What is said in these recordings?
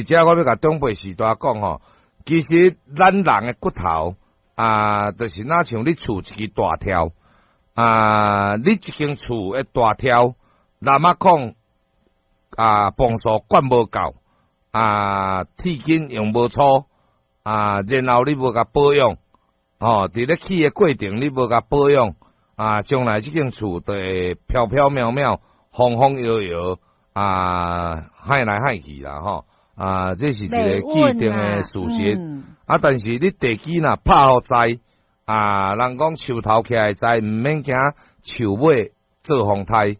佇遮我欲共長輩序大講吼，其實咱人的骨頭啊，就是若像你厝一支大柱啊，你一間厝的大柱，那麼講啊，磅數灌無夠啊，鐵筋用無粗啊，然後你無共保養，吼，佇咧起的過程你無共保養啊，將來這間厝就會飄飄渺渺、風風搖搖啊，海來海去啦，吼啊，這是一個既定的事實。啊，但是你地基若拍予在啊，人講樹頭徛會在，毋免驚樹尾做風颱。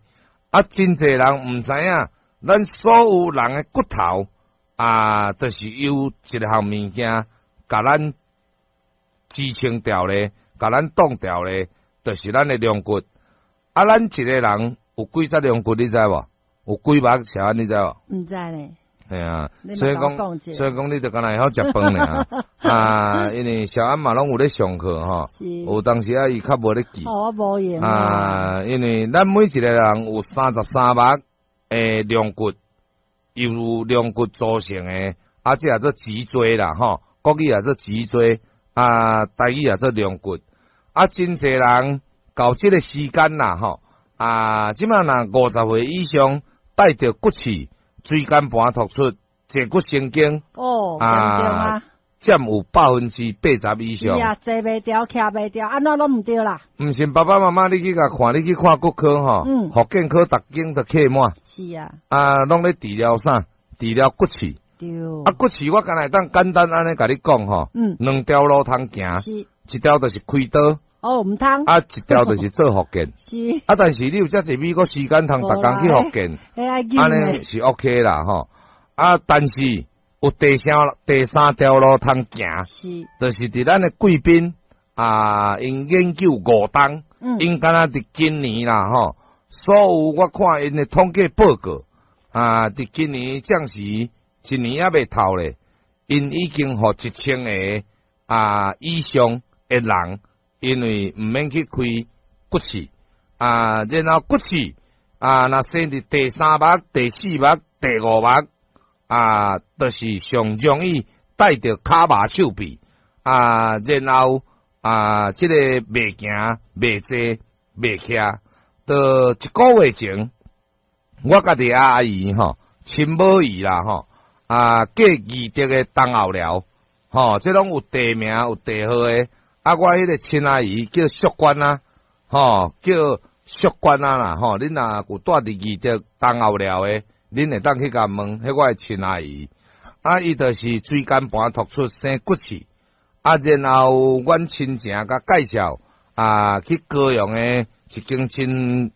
啊，真濟人毋知影，咱所有人的骨頭啊，就是由一項物件共咱支撐牢咧，共咱擋牢咧，就是咱的龍骨。啊，咱一個人有幾節龍骨，你知無？有幾目小安，你知無？毋知咧。嘿啊，所以講，你就敢若會曉食飯爾啊，因為小安嘛攏有咧上課吼，有當時啊，伊較無咧記。哦，我無閒。啊，因為咱每一個人有33目的龍骨，由龍骨組成的，啊，這也做脊椎啦，吼，國語也做脊椎，啊，台語也做龍骨。啊，真濟人到這個時間啦，吼，啊，這馬若50歲以上帶著骨刺、椎間盤突出、坐骨神經，哦，啊，佔有80%以上。是啊，坐袂牢，徛袂牢，按怎攏毋對啦。毋信爸爸媽媽，你去共看，你去看骨科吼，復健科逐間都客滿。是啊。啊，攏咧治療啥？治療骨刺。對。啊，骨刺我敢若會當簡單按呢共你講吼。兩條路通行。一條就是開刀。哦，毋通。啊，一條就是做復健。啊，但是你有遮濟美國時間通逐工去復健，按呢是 OK 啦吼。啊，但是有第三條路通行，就是佇咱的貴賓啊，𪜶研究5冬，𪜶敢若佇今年啦吼，所有我看𪜶的統計報告啊，佇今年暫時一年猶未透咧，𪜶已經予1000個啊以上的人，因為毋免去開骨刺啊，然後骨刺啊，若生佇第三目、第四目、第五目啊，就是上容易帶著跤麻手臂啊，然後啊，這個袂行、袂坐、袂徛，就一個月前，我家己阿姨吼，親母姨啦吼，啊，過義德的東後寮，吼，這攏有地名有地號的。啊，我彼個親阿姨叫淑娟啊，吼，叫淑娟啊啦，吼，恁若有蹛佇義德東後寮的，恁會當去共問，彼我的親阿姨，啊，伊就是椎間盤突出生骨刺，啊，然後阮親情共介紹啊，去高雄的一間真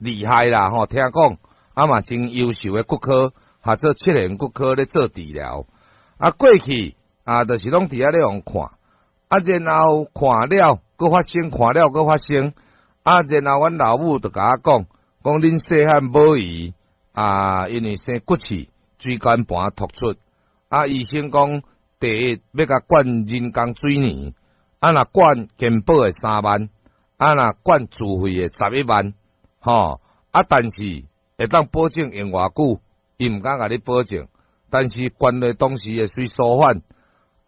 厲害啦，吼，聽講啊嘛真優秀的骨科，合做七賢骨科咧做治療，啊，過去啊，就是攏佇遐咧予看。啊，然後看了，閣發生，看了閣發生。啊，然後阮老母就共我講，講恁細漢母姨啊，因為生骨刺、椎間盤突出。啊，醫生講，第一欲共灌人工水泥，啊，若灌健保的3萬，啊，若灌自費的11萬，吼。啊，但是會當保證用偌久，伊毋敢共你保證。但是灌落當時會隨舒緩。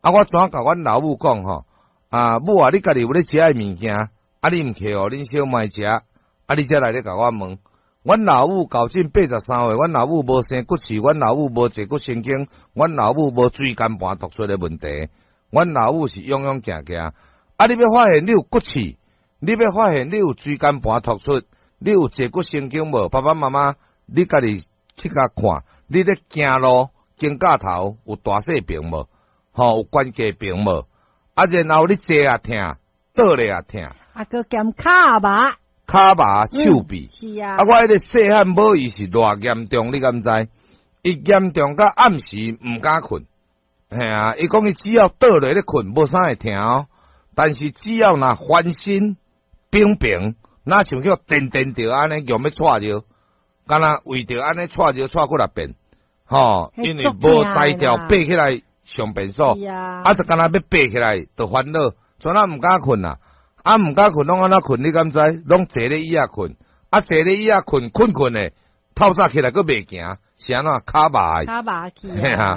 啊，我怎共阮老母講吼？啊，母啊，你家己有咧食的物件，啊，你毋挃予恁小妹食，啊，你才來咧共我問。阮老母到今83歲，阮老母無生骨刺，阮老母無坐骨神經，阮老母無椎間盤突出的問題，阮老母是勇勇行行。啊，你欲發現你有骨刺，你欲發現你有椎間盤突出，你有坐骨神經無？爸爸媽媽，你家己去共看，你咧行路肩胛頭有大細病無？吼，有關節病無？啊，然後你坐也疼，倒咧也疼。啊，閣兼跤麻，跤麻手臂。是啊。啊，我彼個細漢母伊是偌嚴重，你敢知？伊嚴重到暗時毋敢睏。嘿啊，伊講伊只要倒落咧睏，無啥會疼哦。但是只要若翻身平平，若像叫顛顛著按呢，用欲掣著，敢若為著按呢掣著掣幾若遍，吼，因為無才調爬起來上便所，啊，就敢若欲爬起來就煩惱，怎啊毋敢睏啊？啊，毋敢睏，攏按怎睏？你敢知？攏坐咧椅仔睏，啊，坐咧椅仔睏，睏睏的，透早起來閣袂行，是按怎？跤麻跤麻去。嘿啊。